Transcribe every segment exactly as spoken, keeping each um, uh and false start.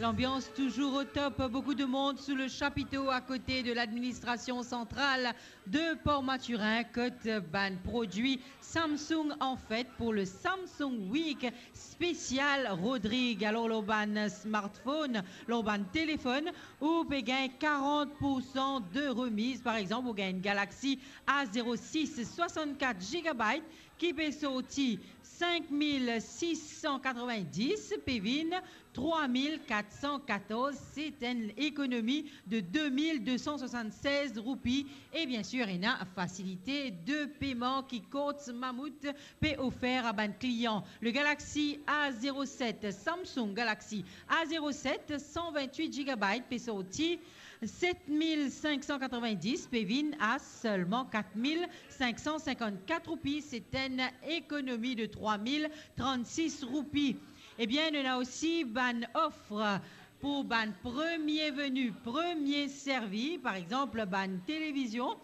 L'ambiance toujours au top, beaucoup de monde sous le chapiteau à côté de l'administration centrale de Port-Mathurin, kot bann prodwi Samsung an fet pou le Samsung Week spesial Rodrig. Alor, lor bann smartphone, lor bann telefonn, ou pe gagn quarante pour cent de remise. Par exemple, ou gagn Galaxy A zéro six soixante-quatre gigabytes ki pe sorti cinq mille six cent quatre-vingt-dix, pe vinn trois mille quatre cent quatorze, c'est une économie de deux mille deux cent soixante-seize roupies. Et bien sûr, ena facilité de paiement ki Courts Mammouth pe ofer a bann klian. Le Galaxy A zéro sept, Samsung Galaxy A zéro sept, cent vingt-huit gigabytes, pe sorti sept mille cinq cent quatre-vingt-dix, pe vinn a seulement quatre mille cinq cent cinquante-quatre roupies. C'est une économie de trois mille trente-six roupies. Ebien, nou ena osi bann ofre pou bann premie veni, premie servi. Par exanp, bann televizion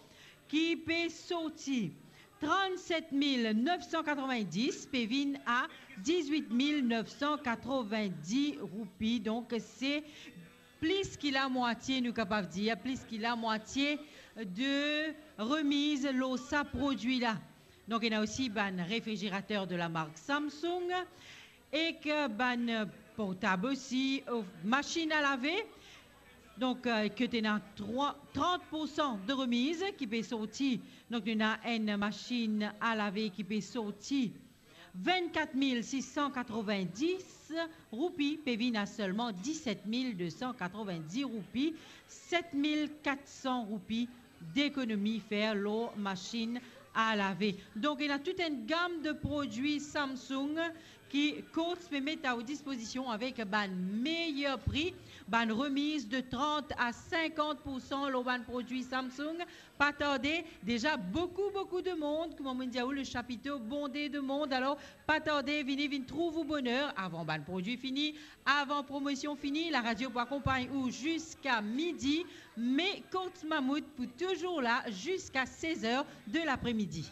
ki pe sorti trente-sept mille neuf cent quatre-vingt-dix pe vinn a dix-huit mille neuf cent quatre-vingt-dix roupies. Donk, se plis ki lamwatie, nou kapav dir, plis ki lamwatie de remiz lor sa prodwi la. Donk, ena osi bann refrigerater de la mark Samsung, ek bann portab osi, euh, masinn a lave. Donk, euh, ki ena trwa, trant pour san de remiz ki pe sorti. Donk, nou ena enn masinn a lave ki pe sorti vinn-kat mil sis san katrovin-dis roupi, pe vinn a selman diset mil de san katrovin-dis roupi, set mil kat san roupi dekonomi fer lor masinn a lave. Donk, ena tout enn gam de prodwi Samsung ki Courts pe met a ou dispozision avek bann meyer pri, bann remiz de trant a sinkant pour san lor bann prodwi Samsung. Pa tarde, deza boukou, boukou de mond, kouma mo dir a ou, le chapito bonde de mond. Alor, pa tarde, vini, vinn trouv ou boner avan bann prodwi fini, avan promosion fini. Laradio pou akonpagn ou ziska midi, me Courts Mammouth pou touzour la ziska sez er de lapremidi.